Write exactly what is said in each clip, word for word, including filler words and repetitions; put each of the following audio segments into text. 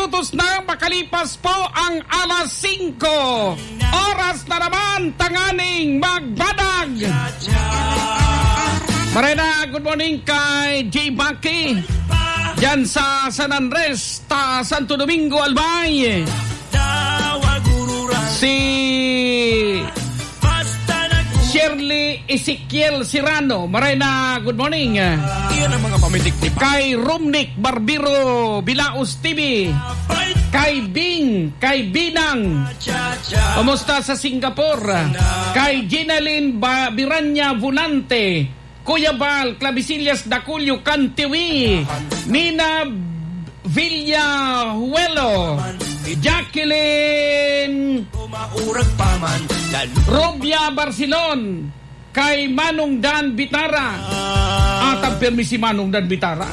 Minutos na makalipas po ang alas singko. Oras na naman tanganing magbadag. Maray na, good morning kay J Baki. Diyan sa San Andres, ta Santo Domingo, Albay. Si Shirley Ezekiel Sirano, maray na, good morning. Iyan ang mga pamitik ni Pa- Kay Rumnik Barbero Bilaos T V. Kay Bing, kay Binang. Kumusta sa Singapore? Kay Ginalyn Ba-, Biranya Volante. Kuya Bal, Clavisillas Daculio Cantiwi, Mina Villajuelo, Jacqueline Rubia Barcelon, kay Manong Dan Bitara. Atang permi si Manong Dan Bitara.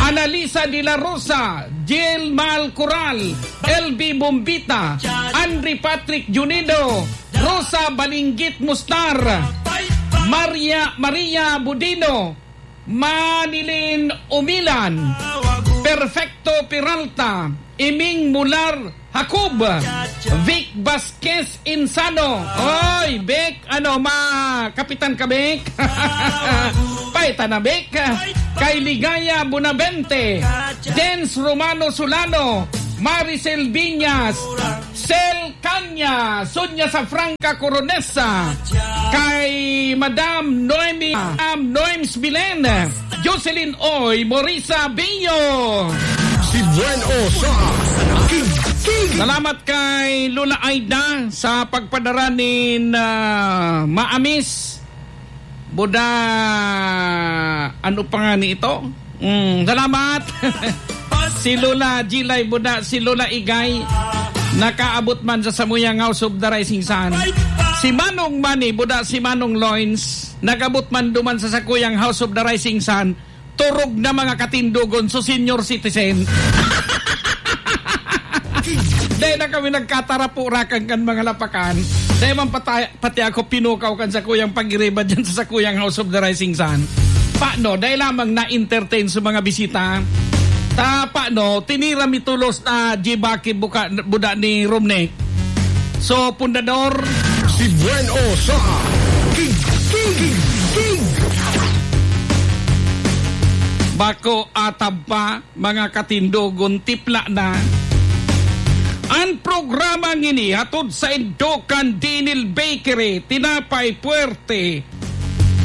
Analisa de la Rosa, Jill Mal Coral, L B Bombita, Andre Patrick Junido, Rosa Balinggit Mustar, Maria, Maria Budino, Manilin Umilan, Perfecto Peralta, Iming Mular Jacob, Vic Vasquez Insano. Oy, Vic, ano, ma-, kapitan ka, Vic? Paita na, Vic. Kay Ligaya Bonavente, Dens Romano Solano, Maricel Viñas, Sel Kanya, Sonia Safranca Coronesa, kay Madam Noemi, Madam Noems Bilen, Jocelyn Oy, Morisa Bio. Si Buen O sa Kig, Kig. Salamat kay Lola Aida sa pagpadara nin, ah, maamis. Buda, ano pa nga ni ito? Mm, salamat. Si Lola Gilay Buda, si Lola Igay, nakaabot man sa samuyang House of the Rising Sun. Si Manong Manny Buda, si Manong Loins, nag-abot man duman sa sakuyang House of the Rising Sun. Turog na mga katindogon, so senior citizen. Dai na kami nagkatarapurakan kan mga lapakan. Dai man patay, pati ako pinukaw kan sakuyang pagiriba dyan sa sakuyang House of the Rising Sun. Pano, dai lamang na-entertain sa mga bisita. Ta, pano, tinira mi tulos na Jibaki buka, buda ni Romnek. So, pundador. Si Buen O sa Kig, Kig, Kig. Bako atab pa. Mga katindogon, tipla na. An programa ngini hatod saindo kan Dinil Bakery, tinapay puwerte,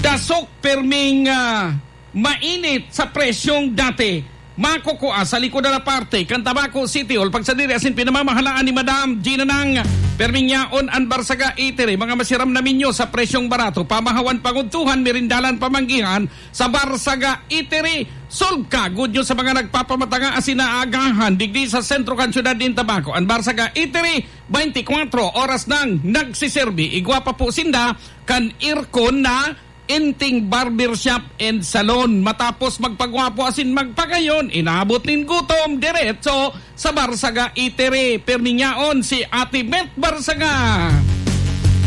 dasok perming, ah, mainit sa presyong dati. Makukua sa likod na parte kan Tabaco City Hall. Pagsadiri asin pinamamahalaan ni Madam Gina Nang, perming yaon an Barsaga Eatery. Mga masiram na menyo sa presyong barato, pamahawan, pangudtuhan, merindalan, pamanggihan, sa Barsaga Eatery. Solve ka, good news sa mga nagpapamatanga asin naagahan digdi sa sentro kan syudad nin Tabaco. An Barsaga Eatery, twenty-four oras nang nagsiserbi. Igwa pa po sinda kan aircon na Inting Barbershop and Salon. Matapos magpagwapo asin magpagayon, inabot nin gutom, diretso sa Barsaga Eatery. Permi nyaon si Ate Met Barsaga.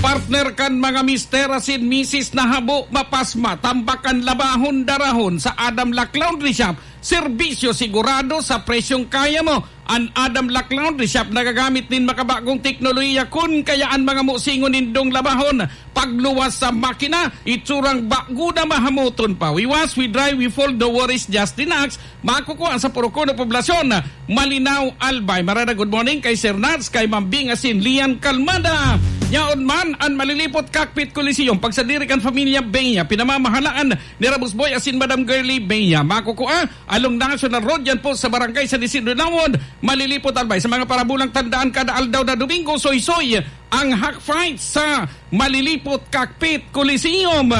Partner kan mga mister asin misis na habo mapasma, tambak kan labahon, darahon sa Adam Lac Laundry Shop. Serbisyo sigurado sa presyong kaya mo. An Adam Lac Laundry Shop nagagamit nin makabagong teknolohiya, kun kaya an mga musingon nindong labahon pagluwas sa makina, itsurang bago na, mahamoton pa. We wash, we dry, we fold, no worries, just relax. Makukua sa Purok Uno Poblacion, Malinao, Albay. Marada, good morning kay Sir Nats, kay Ma'am Bing asin Lian Calmada. Yaon man an Malilipot Cockpit Coliseum, pagsadiri kan Familia Bea, pinamamahalaan ni Rabus Boy asin Madam Girlie Bea. Makukua along National Road, yan po sa Barangay San Isidro Lawon, Malilipot, Albay. Sa mga parabulang tandaan, kada aldaw na Domingo, soysoy ang Hack Fight sa Malilipot Cockpit Coliseum.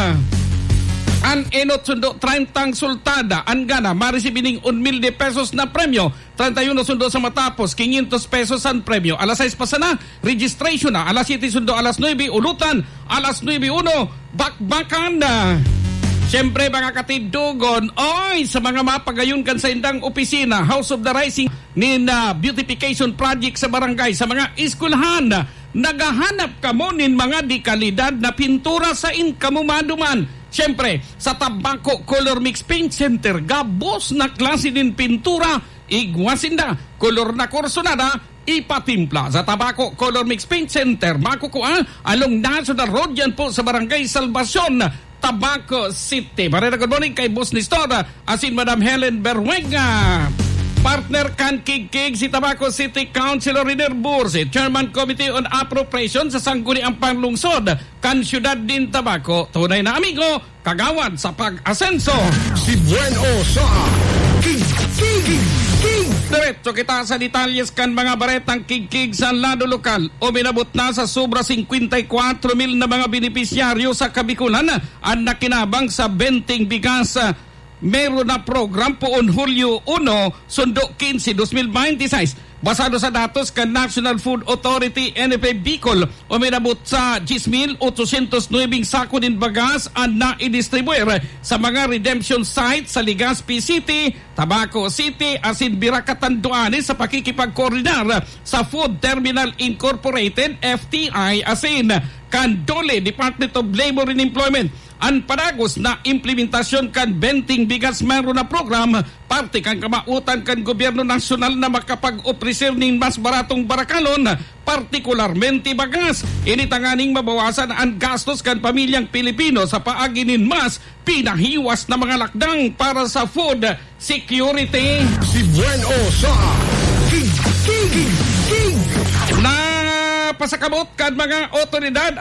An enot sundo, treinta ang sultada. An gana, maresibi ning un mil de pesos na premyo. Treinta y uno sundo sa matapos, quinientos pesos ang premyo. Alas sais pa sana, registration na. Alas siyete sundo alas nuebe, ulutan. Alas nuebe uno, bakbakan na. Siyempre, mga katindogon, oy, sa mga mapagayon kan saindang opisina, House of the Rising, nin, ah, beautification project sa barangay, sa mga eskwelahan, naghahanap kamo nin mga de kalidad na pintura, sain kamo maduman? Siyempre, sa Tabaco Color Mix Paint Center, gabos na klase nin pintura, igwa sinda. Kolor na kursunada, ipatimpla sa Tabaco Color Mix Paint Center. Makukua along National Road, yan po sa Barangay Salvacion, Tabaco City. Barera, good morning kay Boss Nestor, asin Madam Helen Berwega. Partner kan Kigkig, si Tabaco City Councilor Riner Bursi, Chairman Committee on Appropriation sa Sangguniang Panlungsod kan Siyudad nin Tabaco. Tunay na amigo, kagawad sa pag-asenso. Si Buen O sa Kig, Kig, Kig, Kig. Diretso kita sa detalyes kan mga baretang Kigkig sa lado lokal. Uminabot na sa sobra singkwenta y kwatro mil na mga benepisyaryo sa Kabikulan an nakinabang sa Benteng Bigas, ah, Meron Na Program poon Hulyo uno, sundo quince, dos mil bente y seis. Basado sa datos kan National Food Authority, N F A Bicol, uminabot sa diyes mil otsosyentos nuwebeng sako nin bagas an naidistribuir sa mga redemption site sa Legazpi City, Tabaco City, asin Virac, Catanduanes sa pakikipagkoordinar sa Food Terminal Incorporated, F T I, asin kan DOLE, Department of Labor and Employment. An padagos na implementasyon kan Benteng Bigas Meron Na Program, parte kan kamawotan kan gobyerno nasyonal na makapag-opreser nin mas baratong barakalon, partikularmente bagas. Ini tanganing mabawasan an gastos kan pamilyang Pilipino sa paagi nin mas pinahiwas na mga lakdang para sa food security. Si Buen O sa Kig, Kig, Kig, Kig. Napasakabot kan mga otoridad